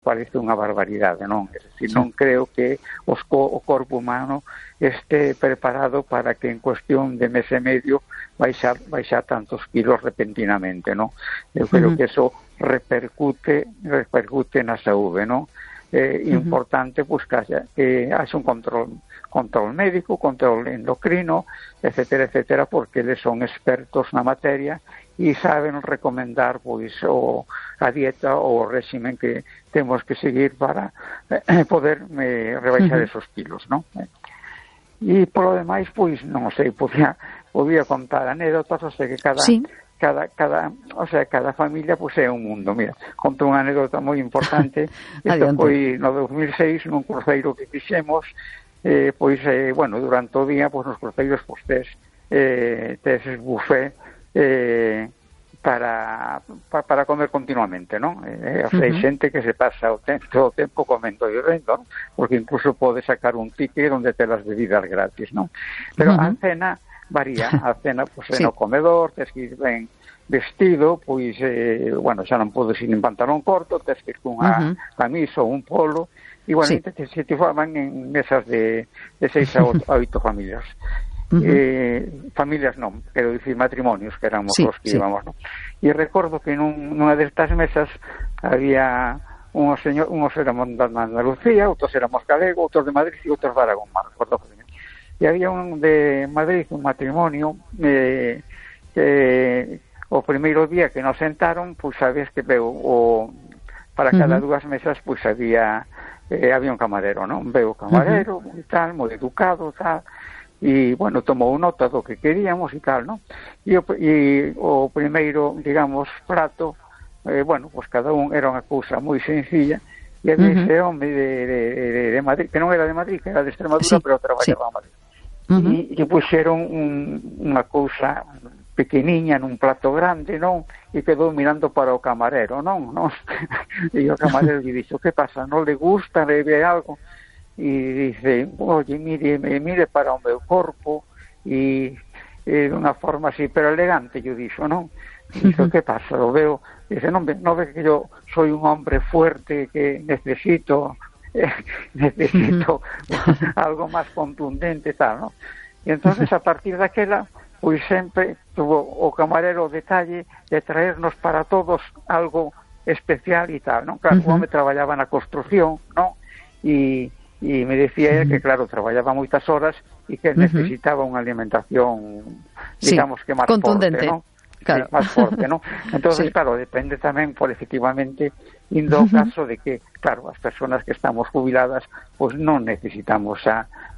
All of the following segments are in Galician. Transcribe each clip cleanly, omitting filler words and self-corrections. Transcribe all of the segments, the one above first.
parece unha barbaridade, non? É dicir, non creo que o corpo humano este preparado para que en cuestión de mes e medio baixar tantos kilos repentinamente, non? Eu creo que eso repercute na saúde, non? Importante pues que haxa un control médico, control endocrino, etcétera, porque eles son expertos na materia e saben recomendar pois a dieta ou o régimen que temos que seguir para poder rebaixar esos kilos, non? E polo demais, pois non sei, podía contar anécdotas, o sea que cada familia pues é un mundo. Mira, conto unha anécdota moi importante. Isto foi no 2006 nun cruceiro que fixemos, durante o día nos cruceiros tes buffet para comer continuamente, non? Hai xente que se pasa todo o tempo comendo e bebendo, non? Porque incluso pode sacar un ticket onde te las bebidas gratis, non? Pero a cena varía, a cena no comedor, tes que ir ben vestido, pois, xa non podes ir en pantalón corto, tes que ir cunha camisa ou un polo, igualmente se te forman en mesas de 6 a 8 familias. Familias non, quero dicir matrimonios, que éramos os que íbamos, non? E recordo que nunha destas mesas había unos éramos de Andalucía, outros éramos galego, outros de Madrid e outros de Aragón, recordo que e había un de Madrid, un matrimonio que o primeiro día que nos sentaron, pois sabes que para cada dúas mesas pois había un camarero, non? Veu o camarero e tal, moi educado, tal, e, tomou nota do que queríamos e tal, non? E o primeiro, digamos, prato, cada un era unha cousa moi sencilla, e había ese home de Madrid, que non era de Madrid, que era de Extremadura, pero traballaba a Madrid. E puxeron unha cousa pequeniña nun plato grande, non? E quedou mirando para o camarero, non? E o camarero lle dixo, que pasa, non le gusta, le ve algo? E dice, oye, mire para o meu corpo, e de unha forma así, pero elegante, lle dixo, non? E dixo, que pasa, lo veo, dice, non ve que yo soy un hombre fuerte que necesito algo máis contundente, tal, non? E entonces a partir daquela pois sempre tuvo o camarero o detalle de traernos para todos algo especial e tal, non? Claro, o home traballaba na construción, non? E me decía él que, claro, traballaba moitas horas e que necesitaba unha alimentación, digamos que máis contundente, forte, non? Claro. Sí, máis forte, non? Entonces, claro, depende tamén, por efectivamente, indo ao caso de que, claro, as persoas que estamos jubiladas, pois non necesitamos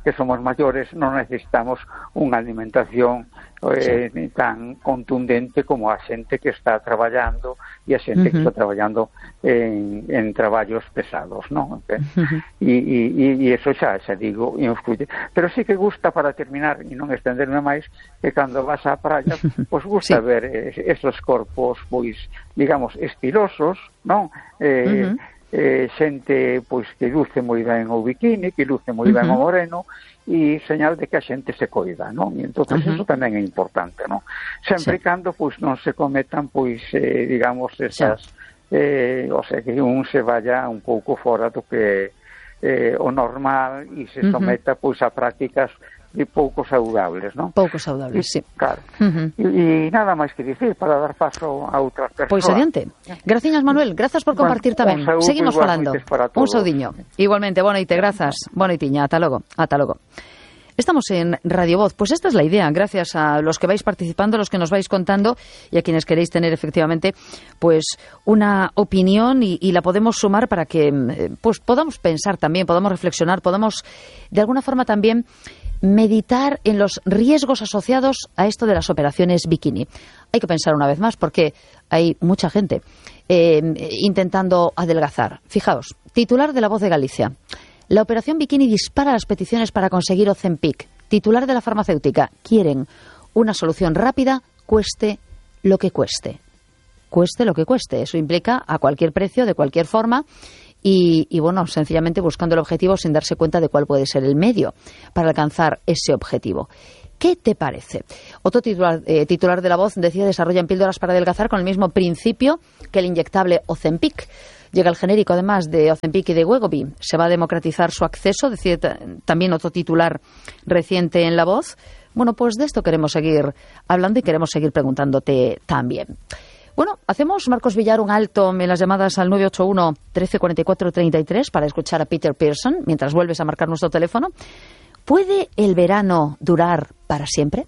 que somos maiores, non necesitamos unha alimentación tan contundente como a xente que está traballando e a xente que está traballando en traballos pesados, non? E eso xa digo, influye. Pero sí que gusta, para terminar e non estenderme máis, que cando vas á praia, pois gusta ver esos corpos, pois, digamos, estilosos, non? Xente pois que luce moi ben o bikini, que luce moi ben o moreno, e señal de que a xente se coida, non? E entón eso tamén é importante, non? Sempre e cando pois non se cometan pois digamos esas o sea, que un se vaya un pouco fora do que o normal e se someta pois a prácticas de pouco saudables, non? Pouco saudables, sí. Claro. E nada máis que dicir para dar paso a outras persoas. Pois adiante. Graciñas, Manuel, grazas por compartir tamén. Seguimos falando. Un saudiño. Igualmente, boa noite, grazas. Boa noitiña, ata logo. Estamos en Radio Voz. Pues esta es la idea, gracias a los que vais participando, los que nos vais contando y a quienes queréis tener efectivamente pues una opinión y la podemos sumar para que pues podamos pensar también, podamos reflexionar, podamos de alguna forma también meditar en los riesgos asociados a esto de las operaciones bikini. Hay que pensar una vez más porque hay mucha gente intentando adelgazar. Fijaos, titular de La Voz de Galicia. La operación bikini dispara las peticiones para conseguir Ozempic. Titular de la farmacéutica. Quieren una solución rápida, cueste lo que cueste. Cueste lo que cueste. Eso implica a cualquier precio, de cualquier forma. Y bueno, sencillamente buscando el objetivo sin darse cuenta de cuál puede ser el medio para alcanzar ese objetivo. ¿Qué te parece? Otro titular de La Voz decía: desarrollan píldoras para adelgazar con el mismo principio que el inyectable Ozempic. Llega el genérico, además, de Ozempic y de Wegovy. Se va a democratizar su acceso, decía también otro titular reciente en La Voz. Bueno, pues de esto queremos seguir hablando y queremos seguir preguntándote también. Bueno, hacemos, Marcos Villar, un alto en las llamadas al 981 13 44 33 para escuchar a Peter Pearson mientras vuelves a marcar nuestro teléfono. ¿Puede el verano durar para siempre?